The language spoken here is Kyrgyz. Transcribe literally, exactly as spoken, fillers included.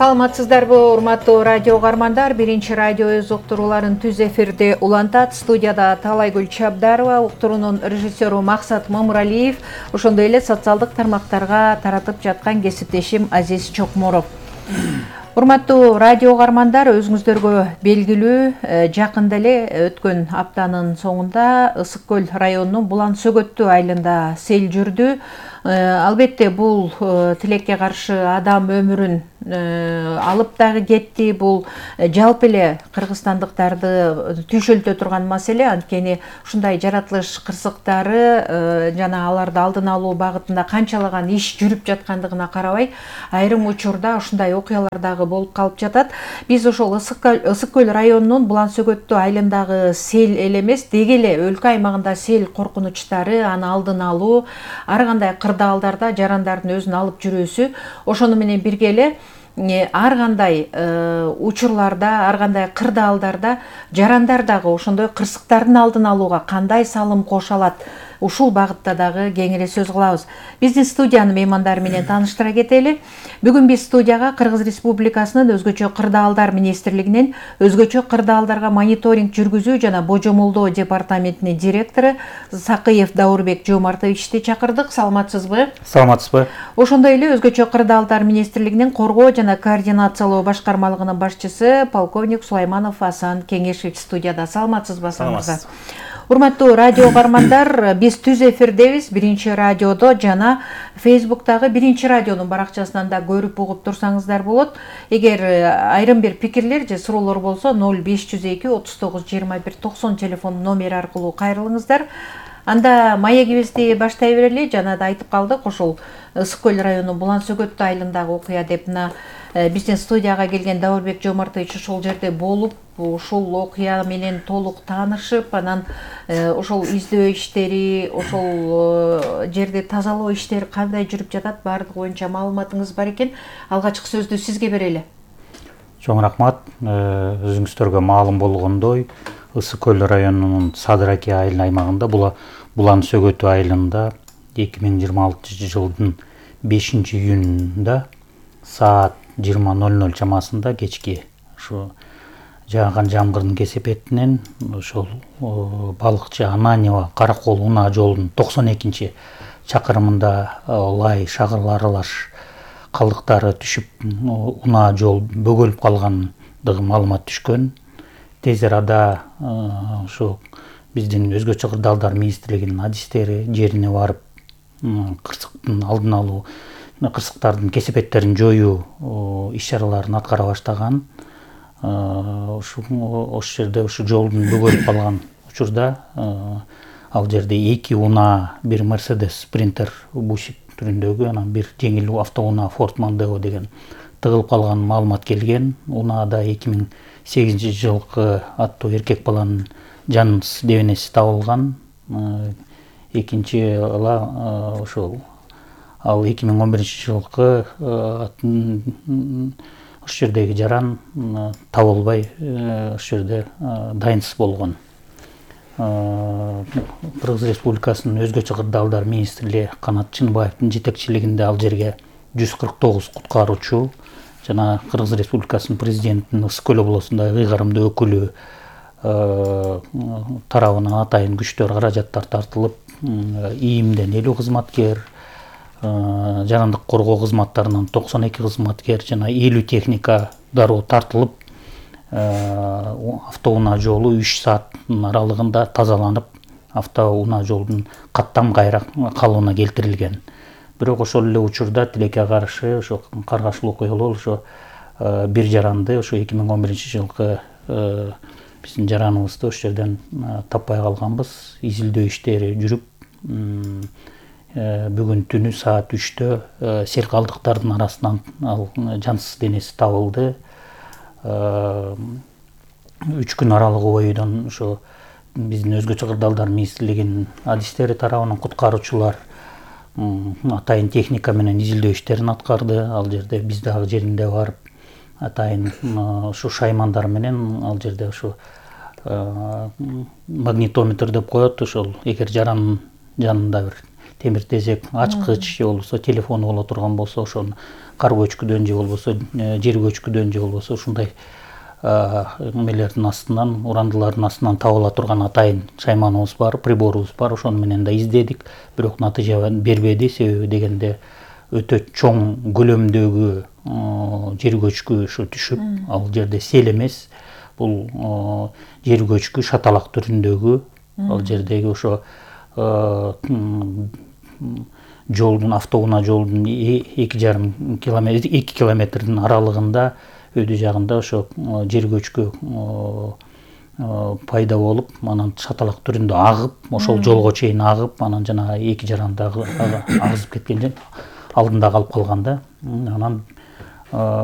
Саламатсыздарбы, урматтуу радио угармандар. Биринчи радио өз уктурууларын түз эфирде улантат. Студияда Талайгүл Чабдарова, уктуруунун режиссеру Максат Мамуралиев, ошондой эле социалдык тармактарга таратып жаткан кесиптешим Азиз Чокморов. Урматтуу радио угармандар, өзүңүздөргө белгилүү, жакында эле өткөн аптанын соңунда Ысык көл районунун Булан Сөгөттүү айылында сел жүрдү. Албетте бул тилекке каршы адам өмүрүн алып дагы кетти. Бул жалпы эле кыргызстандыктарды түйшөлтө турган маселе. Анткени ушундай жаратылыш кырсыктары жана аларды алдын алуу багытында канчалаган иш жүрүп жаткандыгына карабай, айрым учурда ушундай окуялар дагы болуп калып жатат. Биз ошол Ысык көл районунун Булан Сөгөттүү айылындагы сел эле эмес, деги эле өлкө аймагында сел коркунучтары, аны алдын алуу, ар кандай кырдаалдарда жарандардын өзүн алып жүрүүсү, ошону менен бирге эле ар кандай учурларда, ар кандай кырдаалдарда жарандар дагы ошондой кырсыктардын алдын алууга кандай салым кошо алат, ушул багытта дагы кеңири сөз кылабыз. Биздин студиянын меймандары менен тааныштыра кетели. Бүгүн биз студияга Кыргыз Республикасынын өзгөчө кырдаалдар министрлигинин өзгөчө кырдаалдарга мониторинг жүргүзүү жана божомолдоо департаментинин директору Сакыев Даурбек Жомартовичти чакырдык. Саламатсызбы? Саламатсызбы. Ошондой эле өзгөчө кырдаалдар министрлигинин коргоо жана координациялоо башкармалыгынын башчысы полковник Сулайманов Асан Кеңешевич студияда. Саламатсызбы? Саламатсыз. Урматтуу радио угармандар, биз түз эфирдебиз, биринчи радиодо жана Фейсбуктагы биринчи радионун баракчасынан да көрүп угуп турсаңыздар болот. Эгер айрым бир пикирлер же суроолор болсо ноль беш жүз эки отуз тогуз жыйырма бир токсон телефон номери аркылуу кайрылыңыздар. Анда маегибизди баштай берели. Жана да айтып калдык, ошол Ысык көл районунун Булан Сөгөттүү айылындагы окуя деп мына биздин студияга келген Даурбек Жомартович ошол жерде болуп, ушул окуя менен толук таанышып, анан ошол издөө иштери, ошол жерди тазалоо иштери кандай жүрүп жатат, баардыгы боюнча маалыматыңыз бар экен. Алгачкы сөздү сизге берели. Чоң рахмат. Өзүңүздөргө маалым болгондой, Ысык көл районунун Садыраки айыл аймагында Булан Сөгөттүү айылында эки миң жыйырма алтынчы жылдын бешинчи июнунда саат жыйырма ноль ноль чамасында кечки ушу жааган жамгырдын кесепетинен ошол балыкчы Ананьева Каракол унаа жолунун токсон экинчи чакырымында лай шагыл аралаш калдыктары түшүп, унаа жол бөгөлүп калгандыгы маалымат түшкөн. Тез арада ушу биздин өзгөчө кырдаалдар министрлигинин адистери жерине барып, кырсыктын алдын алуу, кырсыктардын кесепеттерин жоюу иш-чараларын аткара баштаган. Ошол жерде ушу жолдун бөгөлүп калган учурда ал жерде эки унаа, бир Mercedes Sprinter бушик түрүндөгү, анан бир жеңил автоунаа Ford Mondeo деген тыгылып калган маалымат келген. Унаада эки миң сегизинчи жылкы аттуу эркек баланын жаныс дебенеси табылган. Экинчи ала ошол ал эки миң он биринчи жылкы ошол жердеги жаран табылбай ошол жерде дайынсыз болгон. Кыргыз Республикасынын өзгөчө кырдаалдар министри Канат Чынбаевдин жетекчилигинде ал жерге жүз кырк тогуз куткаруучу жана Кыргыз Республикасынын президентинин Ысык көл облусундагы ыйгарымдуу өкүлү тарабынан атайын күчтөр, каражаттар тартылып, ИИМден элүү кызматкер, жарандык коргоо кызматтарынан токсон эки кызматкер жана элүү техника дароо тартылып, автоунаа жолу үч сааттын аралыгында тазаланып, автоунаа жолдун каттам кайра калыбына келтирилген. Бирок ошол эле учурда тилекке каршы ошо каргашылуу окуялар ошо бир жаранды ошо эки миң он биринчи жылкы биздин жараныбызды ошол жерден таппай калганбыз. Изилдөө иштери жүрүп, бүгүн түнү саат үчтө сел калдыктардын арасынан ал жансыз денеси табылды. Үч күн аралыгы боюнан ошо биздин өзгөчө кырдаалдар министрлигинин адистери тарабынан куткаруучулар атайын техника менен изилдөө иштерин аткарды. Ал жерде биз дагы жеринде барып, атайын ушу шаймандар менен ал жерде ушу магнитометр деп коет, ошол эгер жарандын жанында бир темир тезек ачкыч же болбосо телефон боло турган болсо ошону кар көчкүдөн же болбосо жер көчкүдөн же болбосо ушундай эмелердин астынан урандылардын астынан табыла турган атайын шайманыбыз бар, приборубуз бар. Ошону менен да издедик, бирок натыйжа бербеди. Себеби дегенде өтө чоң көлөмдөгү жер көчкү ушу түшүп, ал жерде сел эмес, бул жер көчкү шаталак түрүндөгү, ал жердеги ошо жолдун автоунаа жолдун эки жарым километр эки километрдин аралыгында өйдү жагында ошо жер көчкү пайда болуп, анан шаталак түрүндө агып, ошол жолго чейин агып, анан жанагы эки жарандагы агызып кеткен алдында калып калган да. Анан